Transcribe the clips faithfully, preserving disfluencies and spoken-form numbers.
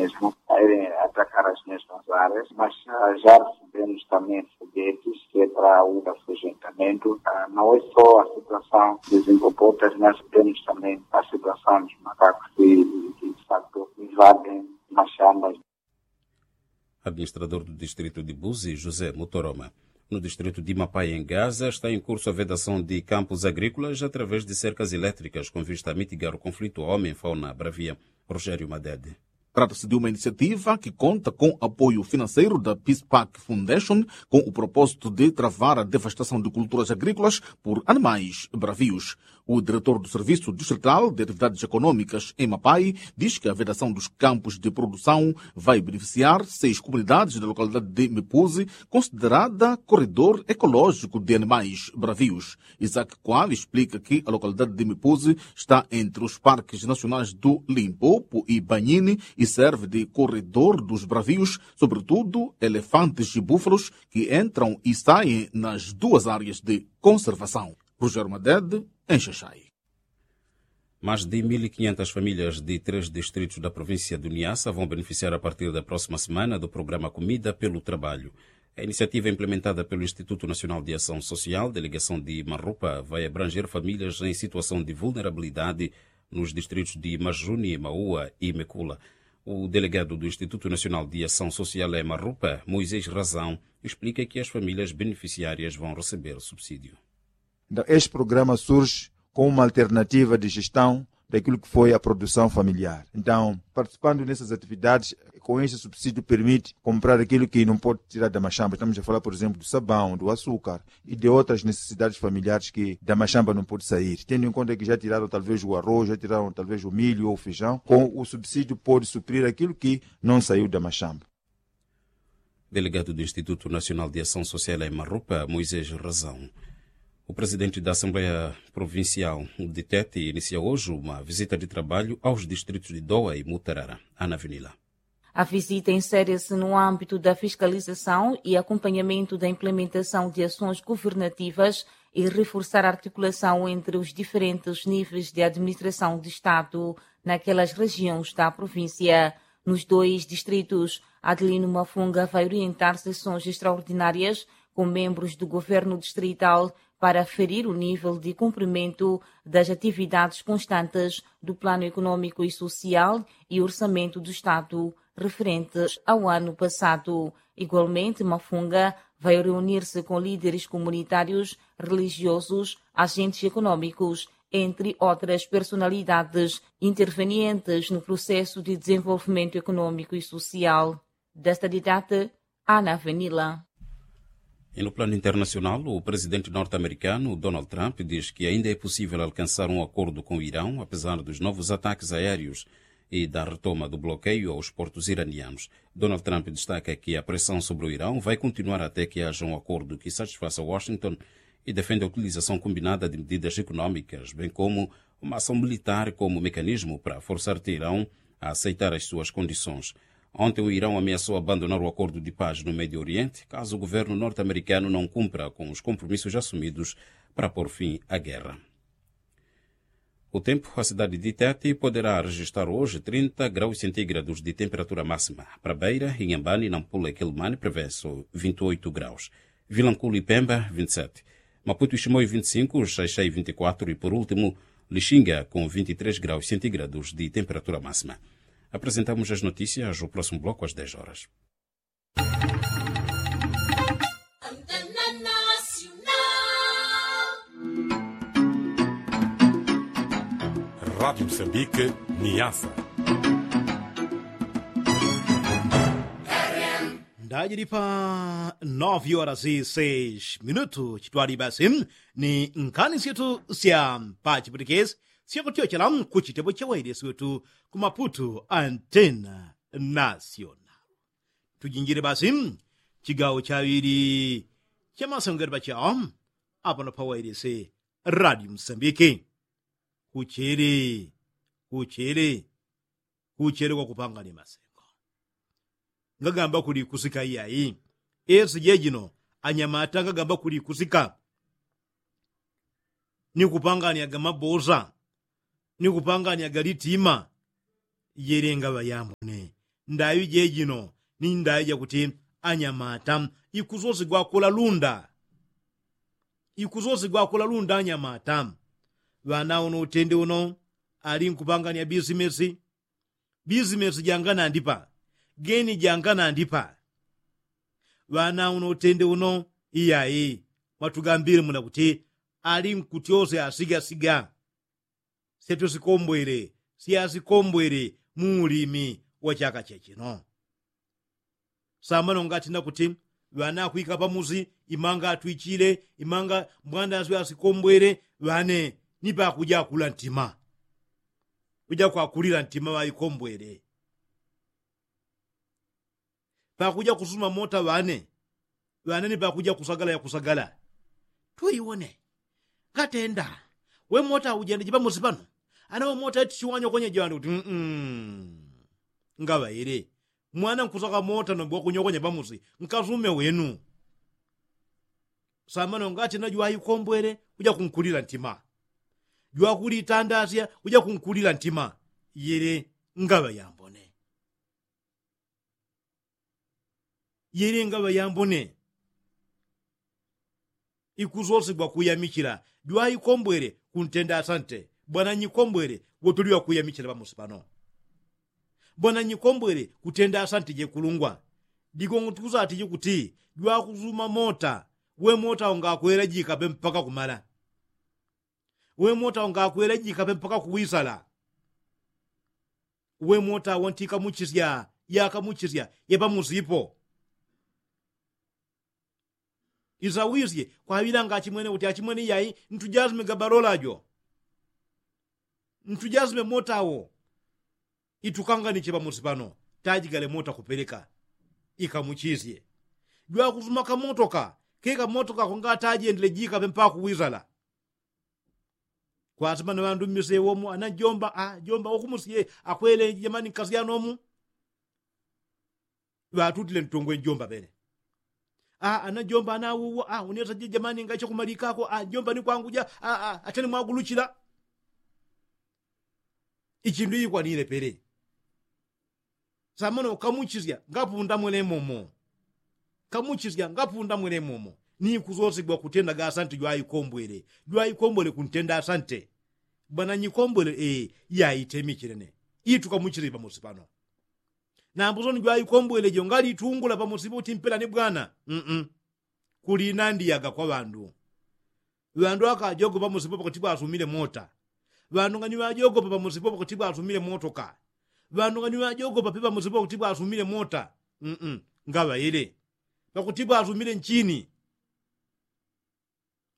Mesmu a ere atakara as mesmas areas mas, ja resebemos também foguetes que é para o afugentamento. Não é só a situação desenvolvida mas temos também a situação dos macacos que de facto invadem machambas. Administrador do distrito de buzi josé mutoroma. No distrito de mapai em gaza está em curso a vedação de campos agrícolas através de cercas elétricas com vista a mitigar o conflito homem fauna bravia. Rogério madede. Trata-se de uma iniciativa que conta com apoio financeiro da peace park foundation com o propósito de travar a devastação de culturas agrícolas por animais bravios. O diretor do serviço distrital de atividades econômicas em mapai diz que a vedação dos campos de produção vai beneficiar seis comunidades da localidade de mepuzi, considerada corredor ecológico de animais bravios. Isaac qual explica que a localidade de mepuzi está entre os parques nacionais do limpopo e banhini e serve de corredor dos bravios, sobretudo elefantes e búfalos que entram e saem nas duas áreas de conservação. Rogério madede, em xaxai. Mais de mil e quinhentas famílias de três distritos da província do niassa vão beneficiar a partir da próxima semana do programa comida pelo trabalho. A iniciativa implementada pelo instituto nacional de ação social delegação de marrupa vai abranger famílias em situação de vulnerabilidade nos distritos de majuni maua e mecula. O delegado do instituto nacional de ação social em marrupa moisés razão explica que as famílias beneficiárias vão receber subsídio. Então este programa surge como uma alternativa de gestão daquilo que foi a produção familiar. Então participando nessas atividades, com este subsídio permite comprar aquilo que não pode tirar da machamba. Estamos a falar por exemplo do sabão, do açúcar e de outras necessidades familiares que da machamba não pode sair, tendo em conta que já tiraram talvez o arroz, já tiraram talvez o milho ou o feijão. Com o subsídio pode suprir aquilo que não saiu da machamba. Delegado do instituto nacional de ação social em marrupa moisés razão. O presidente da assembleia provincial de tete inicia hoje uma visita de trabalho aos distritos de doa e mutarara. Ana vinila. A visita insere-se no âmbito da fiscalização e acompanhamento da implementação de ações governativas e reforçar a articulação entre os diferentes níveis de administração de estado naquelas regiões da província. Nos dois distritos, adelino mafunga vai orientar sessões extraordinárias com membros do governo distrital para aferir o nível de cumprimento das atividades constantes do plano econômico e social e orçamento do estado referentes ao ano passado. Igualmente mafunga vai reunir-se com líderes comunitários, religiosos, agentes econômicos, entre outras personalidades intervenientes no processo de desenvolvimento econômico e social. Desta didata, ana venila. E no plano internacional o presidente norte-americano donald trump diz que ainda é possível alcançar um acordo com o irão apesar dos novos ataques aéreos e da retoma do bloqueio aos portos iranianos. Donald trump destaca que a pressão sobre o irão vai continuar até que haja um acordo que satisfaça washington e defende a utilização combinada de medidas econômicas bem como uma ação militar como mecanismo para forçar teirão a aceitar as suas condições. Ontem o irão ameaçou abandonar o acordo de paz no médio oriente caso o governo norte-americano não cumpra com os compromissos assumidos para pôr fim à guerra. O tempo a cidade de tete poderá registrar hoje trinta graus centígrados de temperatura máxima. Para beira inhambani nampula e quilmani preveso vinte e oito graus. Vilanculi pemba vinte e sete. Maputo e chimoi vinte e cinco, xaixai vinte e quatro e por último lixinga com vinte e três graus centígrados de temperatura máxima. Apresentamos as notícias o próximo bloco às dez horas. Rádio moçambique, niasa. Ndajili pa nove horas e seis minutu chitwali basi ni nkhani syetu sya pa chiputikesi syakutyochela kuchitepo cha wailesi wetu ku maputu antena nasional. Tujinjile basi chigawo chaŵili cha masengelo pachawo apano pa wailesi radio msambiki. Kuchele kuchele kuchele kwa kupangani masengo. Ngagamba kuli kusika iyayi. Esi jejino anyamata ngagamba kuli kusika ni kupangani agamabosa ni kupangani agalitima. Jelenga ŵayambone Ndaŵi jejino ni ndaŵi jakuti anyamata ikusosigwa kula lunda. Ikusosigwa kula lunda anyamata. Ŵana uno utende uno ali nkupangania bisimesi. Bisimesi janganandipa geni janganandipa. Ŵana uno utende uno iyai mwatugambile muna kuti ali nkutyose asigasiga. Syatwesikombwele syasikombwele mu ulimi wa chaka chechino. Samano ngati nakuti ŵanakwika pamusi imanga atwichile imanga mbwanda asyo asikombwele ŵane ni pakuja akula ntima. Kuja kwakulila ntima ŵaikombwele pakuja kusuma mota ŵane. Ŵane ni pakuja kusagala ya kusagala. Tuiwone ngatenda we mota ujende jipamusi pano. Ana we mota eti chiwanyokonye jwande kuti mm. Ngaŵaile mwana nkusaka mota nombo wakunyokonye pamusi nkasume wenu. Samano ngati na jwaikombwele kuja kunkulila ntima. Jwakulitandasya kuja kunkulila ntima. Yele ngaŵa yambone. Yele ngaŵa yambone. Ikusosigwa kuyamichila jwaikombwele kuntenda asante. Bwana nyikombwele wotuli wakuyamichila pamusi pano. Bwana nyikombwele kutenda asante jekulungwa. Digongo tukusatije kuti jwakusuma mota. We mota ungakwela jikape mpaka kumala. We mota ungakwela jikape mpaka kuwisala. We mota wantikamuchisya yakamuchisya yapamusipo. Isawisye kwaŵilanga achimwene kuti achimwene iyai ntujasime gabalola jo. Ntujasime mota wo. Itukanganiche pamusi pano. Tajigale mota kupeleka ikamuchisye. Jwakusuma kamotoka kekamotoka kongatajendele jikape mpaka kuwisala. Kwasima na ŵandu mmisewomu ana njomba a njomba wakumusiye akwele jamani nkasyanomu. Ŵatutile ntungwe njomba pene. A ana njomba ana awuwo a unesa jejamani ngaicho kumalikako a njomba ni kwanguja a a achani mwaguluchila. Ichindu ikwanile pele. Samano kamuchisya ngapunda mwelemomo. Kamuchisya ngapunda mwelemomo. Ni kusosigwa kutenda ga asante jwaikombwele jwaikombwele kuntenda asante. Bwana nyikombwele e yaitemichilene. Itukamuchisye pamusi pano. Nambuso ni jwaikombwele jo ngalitungula pamusipo kuti mpela ni bwana mm. Kulinandiyaga kwa ŵandu. Ŵandu akajogopa musipo pakuti pwasumile mota. Ŵandu ngani ŵajogopa pamusipo pakuti pwasumile motoka. Ŵandu ngani ŵajogopa pi pamusipo pakuti pwasumile mota. Mm ngaŵaile pakuti pwasumile nchini.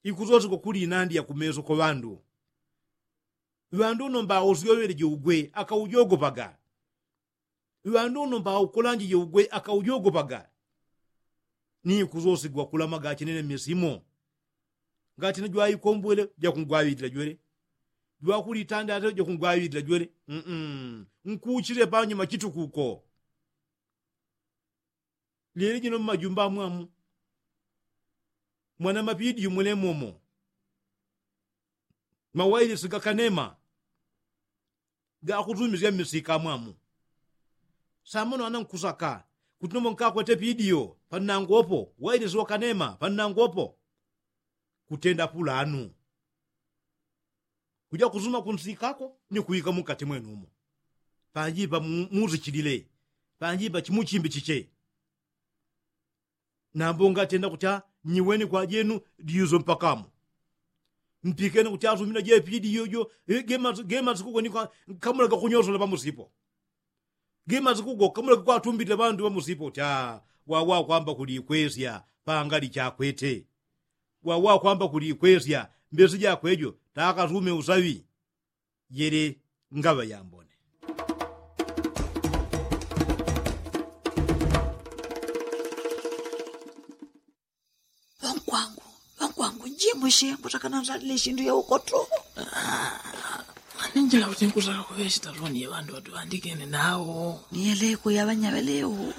Ikusosigwa kulinandiya kumeso kwa ŵandu. Ŵandu uno mbausyoŵele jougwe akaujogopaga. Ŵandu uno mbaukulanjije ugwe akaujogopaga. Ni kusosigwa kulama gachinene mmisimo. Ngachine jwaikombwele jakungwaŵilila jwele. Jwakulitandate jakungwaŵilila jwele. Nkuchile panyuma chitukuko. Lyeli jino mmajumba amwamu mwana mapidiyo mwelemomo. Mawailisi gakanema gakusumisya mmisika mwamu. Samano ana nkusaka kuti nombo nkakwete pidiyo pannangopo wailisi wakanema pannangopo. Kutenda pulanu kuja kusuma kunsikako ni kuika mukati mwenumo. Panjipa muzichilile panjipa chimuchimbi chiche. Nambo ngatenda kuti a nyiweni kwajenu diuso mpakamo. Mpikene kuti asumina jepidiyo jo. Gemasi kugo ni kamula gakunyosola pamusipo. Gemasi kugo kamula gakwatumbitila pandu pamusipo kuti a wawakwamba kulikwesya pangali chakwete. Wawakwamba kulikwesya mbesi jakwejo takasume usaŵi. Yele ngaŵa yambone. Ŵankwangu ŵankwangu njimushe mbutakana nzalile shindu yaukoto. Aninjila kuti nkusaka kuŵe shitaloni yeŵandu ŵatuŵandikene nawo. Niyeleko yaŵanyaŵelewo.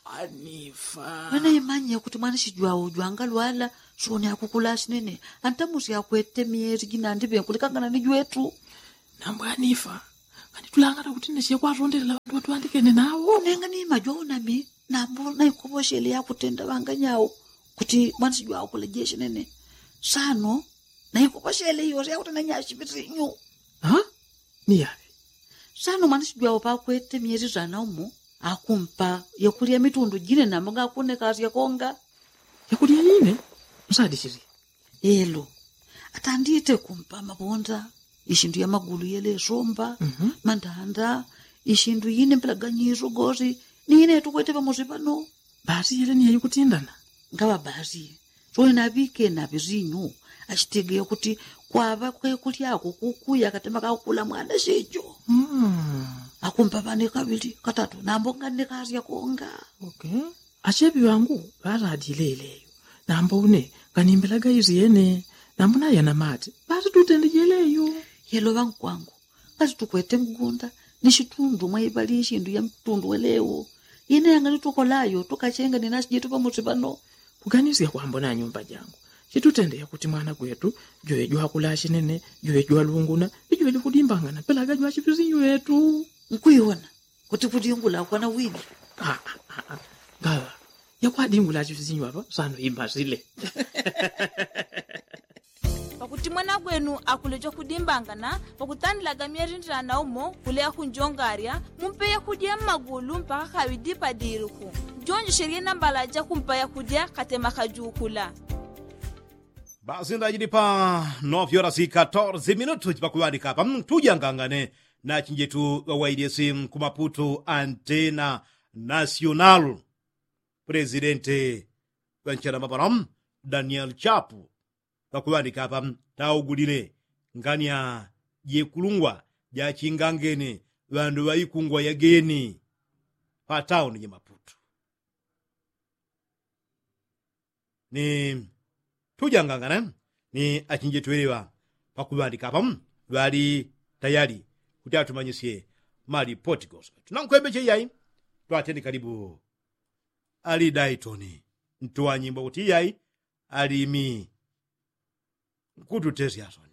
Anifa. Ŵanaimanye kuti mwanishi jwawo jwangalwala. Soni akukula ashinene antamusi akwete myesi jinandiŵe nkulikangana ni jwetu. Nambwe anifa. Anitulangata kuti nesiye kwatondelela ŵandu ŵatwandikene nawo nenga ni majwawo nami. Nambo naikoposhele yakutenda ŵanganyau kuti mwanisi jwawo kula jeshi nene. Sano naikoposhele yose yakutenda nyashipitinyu. Ni yaŵe? Sano mwanisi jwawo pakwete myezi sana umo akumpa yakulya mitundu jine nambo ngakunekasya konga. Yakulya yine? Msadi chili elo atandite kumpa mabonda ishindu ya magulu yelesomba mandanda ishindu yine mpelaganyiso gosi. Ni yine yatukwete pamosi pano. Basi yele ni yayikutindana ngaŵa basi. Soye naŵike naŵe sinyu. Achitegeya kuti kwaŵa kwekulyako kukuya katema kakula mwana shecho. Akumpa ŵane kaŵili katatu nambo nganekasya konga. Acheŵi ŵangu ŵaladile ileyo. Nambo une nganimbelaga isyene. Nambo nayana mate ŵatitutende jeleyo. Yelo ŵankwangu ngati tukwete mgunda ni shitundu mwaiŵali ishindu ya mtundu welewo. Ine yangali tukolayo tukachenga ni nasi jetu pamosi pano. Kuganisya kwambo na nyumba jangu chitutende yakuti mwana gwetu jwe jwakula ashinene jwe jwalunguna ijwe jikudimbangana pelaga jwachipisinyu yetu. Nkuiwona kuti kudingula kwana wini. Ngaŵa yakwadingula achipisinyu apa sano imasile. Pakuti mwana gwenu akulecha kudimbangana pakutandilaga myerindila naumo kuleya kunjongarya mumpe yakudya mmagulu mpaka kaŵidi padiluku. Jonjeshelye nambala jakumpa yakudya katema kajukula. Basi ndajidi pa novyora si katorze minutu jipakuŵanika apa tujangangane na chinjetu ŵawailesi kumaputu antena nasional. Presidente ŵanchala mapala daniel chapu ŵakuŵanika apa taugulile ngania jekulungwa jachingangene ŵandu ŵaikungwa yageni patauni jamaputu. Ni tujangangana ni achinjetu ŵeleŵa pakuŵandika apa ŵali tayali kuti atumanyisye malipoti gose. Tunankwembeche iyai twateni kalibu ali daitoni ntuwanyimbwa kuti iyai alimi nkututesya asoni.